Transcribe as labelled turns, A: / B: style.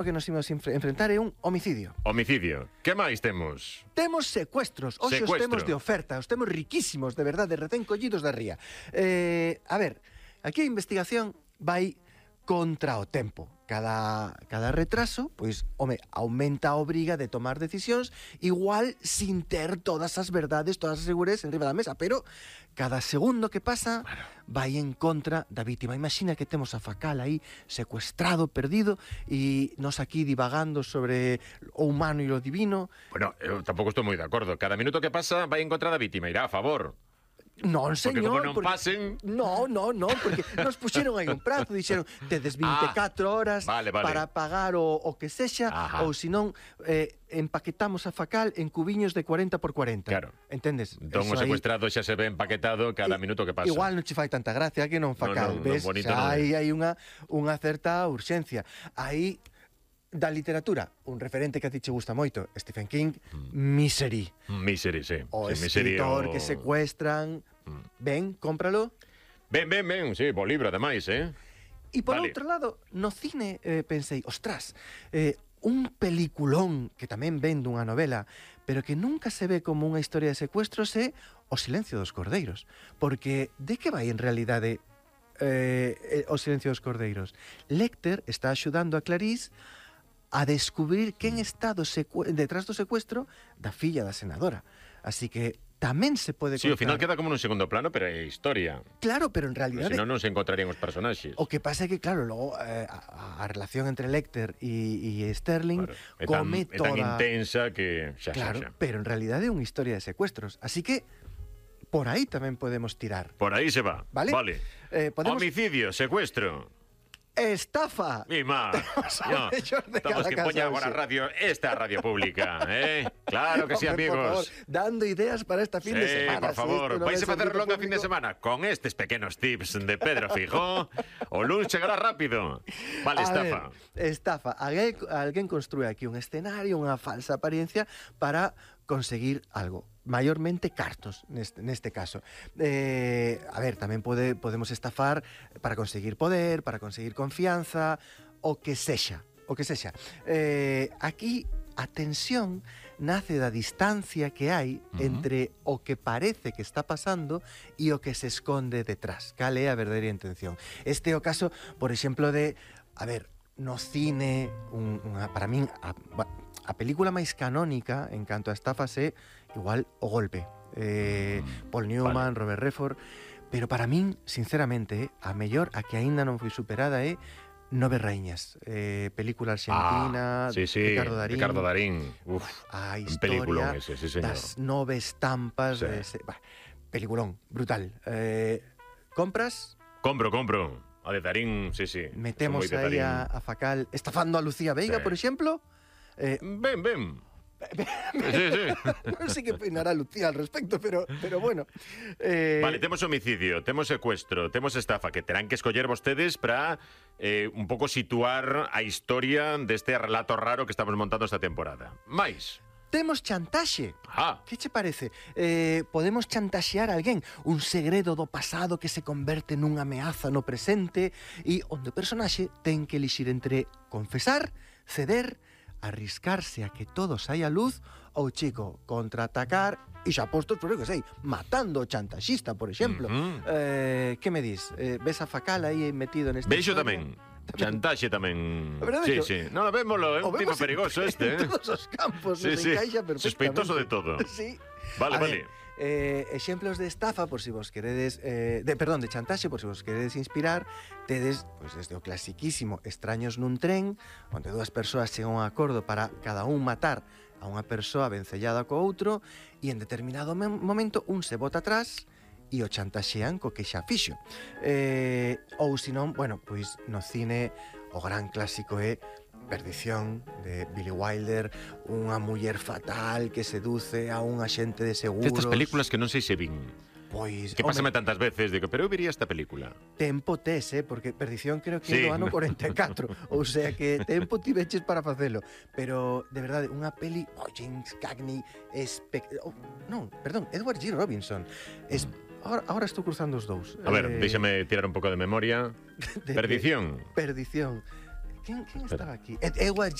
A: O que nos imos enfrentar é un homicidio.
B: Homicidio. Que máis temos?
A: Temos secuestros. Hoxe os
B: Secuestro.
A: temos de oferta. Os temos riquísimos, de verdade, recén collidos da ría. A ver, aquí a investigación vai contra o tempo. Cada retraso, pois, home, aumenta a obriga de tomar decisións, igual sin ter todas as verdades, todas as seguridades en riba da mesa, pero cada segundo que pasa vai en contra da vítima. Imagina que temos a Facal aí secuestrado, perdido, e nos aquí divagando sobre o humano e o divino.
B: Bueno, eu tampouco estou moi de acordo. Cada minuto que pasa vai en contra da vítima, irá a favor.
A: Non,
B: Porque
A: señor,
B: como non pasen...
A: No, porque nos puxeron aí un prazo, dixeron, tedes 24 horas
B: vale.
A: para pagar o que sexa, ou senón empaquetamos a Facal en cubiños de 40 por 40.
B: Claro.
A: Entendes?
B: Entón o secuestrado xa se ve empaquetado cada minuto que pasa.
A: Igual non che fai tanta gracia que non Facal, ves?
B: bonito
A: Xa
B: non é.
A: hai unha certa urxencia. Aí da literatura, un referente que a ti che gusta moito, Stephen King, Misery.
B: Misery, sí.
A: O
B: sí, Misery,
A: escritor que secuestran. Ben, cómpralo.
B: Ben, sí, bo libro, ademais,
A: E por
B: Vale.
A: outro lado, no cine pensei, ostras, un peliculón que tamén ven dunha novela, pero que nunca se ve como unha historia de secuestros é O silencio dos cordeiros. Porque de que vai en realidade O silencio dos cordeiros? Lecter está axudando a Clarice a descubrir quen está detrás do secuestro da filla da senadora. Así que tamén se pode contar...
B: Sí, ao final queda como nun segundo plano, pero é historia.
A: Claro, pero en realidade...
B: Senón non se encontrarían os personaxes.
A: O que pasa é que, claro, logo a relación entre Lecter e Sterling come
B: É
A: toda...
B: tan intensa que...
A: Claro, pero en realidade é unha historia de secuestros. Así que por aí tamén podemos tirar.
B: Por aí se va.
A: Vale. Podemos...
B: Homicidio, secuestro.
A: Estafa.
B: Mi má.
A: No,
B: Estamos que poña agora a radio, esta radio pública, Claro que sí,
A: Hombre,
B: amigos.
A: por favor, dando ideas para esta fin de semana.
B: Por favor, vais a facer longa fin de
A: semana.
B: semana con estes pequenos tips de Pedro Fijó. O luns chegará rápido. Vale, estafa.
A: Estafa. Alguén construe aquí un escenario, unha falsa apariencia para conseguir algo. Maiormente cartos, neste caso. A ver, tamén podemos estafar para conseguir poder, para conseguir confianza, o que sexa. Aquí a tensión nace da distancia que hai entre o que parece que está pasando e o que se esconde detrás. Cal é a verdadeira intención? Este é o caso, por exemplo, de... A ver, no cine, para min, a película máis canónica en canto a estafas é igual O Golpe. Paul Newman, Robert Redford. Pero para min, sinceramente, a mellor, a que aínda non foi superada é Nove Raíñas, película argentina,
B: Ricardo Darín. Uf,
A: a
B: historia
A: ese,
B: sí,
A: das nove estampas peliculón, brutal. Compras?
B: Compro. A de Darín, sí.
A: Metemos aí a Facal estafando a Lucía Veiga, por exemplo.
B: Ben. Sí.
A: Non sei que opinará Lucía al respecto, pero bueno.
B: Vale, temos homicidio, temos secuestro, temos estafa, que terán que escoller vostedes para un pouco situar a historia deste relato raro que estamos montando esta temporada. Mais...
A: Temos chantaxe. Que che parece? Podemos chantaxear a alguén, un segredo do pasado que se converte nunha ameaza no presente e onde o personaxe ten que elixir entre confesar, ceder, arriscarse a que todo saia a luz ou, chico, contraatacar e xa postos, por que sei, matando o chantaxista, por exemplo. Que me dis? Ves a Facal aí metido neste...
B: Veixo tamén. Chantaxe tamén. Sí. Non, vémolo, é un tipo perigoso este,
A: En todos os campos nos encaixa perfectamente.
B: Sospeitoso de todo.
A: Sí.
B: Vale.
A: Exemplos de estafa, por si vos queredes... de chantaxe, por si vos queredes inspirar, tedes, pois, desde o clasiquísimo Extraños nun tren, onde dúas persoas chegan a un acordo para cada un matar a unha persoa vencellada co outro, e en determinado momento un se bota atrás e o chantaxean co que xa fixo. Ou senón, bueno, pois no cine o gran clásico é Perdición, de Billy Wilder, unha muller fatal que seduce a un axente de seguros.
B: Estas películas que non sei se vin.
A: Pois,
B: que pásame tantas veces, digo, pero eu viría esta película.
A: Tempo tes, porque Perdición creo que é do ano 44, ou sea que tempo ti veches para facelo. Pero, de verdade, unha peli, James Cagney, Edward G. Robinson, Ahora estou cruzando os dous.
B: A ver, déxame tirar un pouco de memoria. Perdición.
A: Quen estaba aquí? Eu